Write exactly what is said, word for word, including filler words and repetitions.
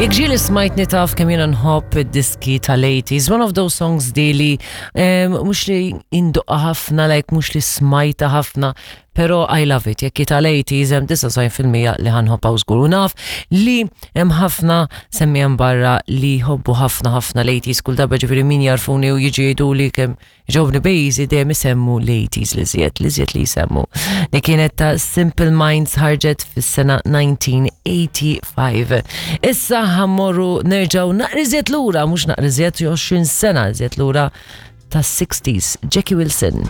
Jekk ġieli smajtni taf kemm jiena nħobb id-diski tal-eighties, one of those songs daily, mhux li indoqqa ħafna, like mhux li smajta ħafna, pero I love it. Jekk tal-eighties hemm disgħa u disgħin fil-mija li ħa nħobbha żgur. U naf li hemm ħafna semmiegħa barra li jħobbu ħafna ħafna l-eighties, kull darba ġifieri min jarfuni u jiġi jgħidu li kemm jogħġobni bejzi dejjem isemmu l-eighties li żjed, li żjed li jsemmu. Li kienet ta' Simple Minds, ħarġet fis-sena elf disa' mija u tmienja u sebgħin. Issa ħa mmorru nerġgħu naqra iżjed lura, mhux naqra iżjed, għoxrin sena iżjed lura, tas-sixties, Jackie Wilson.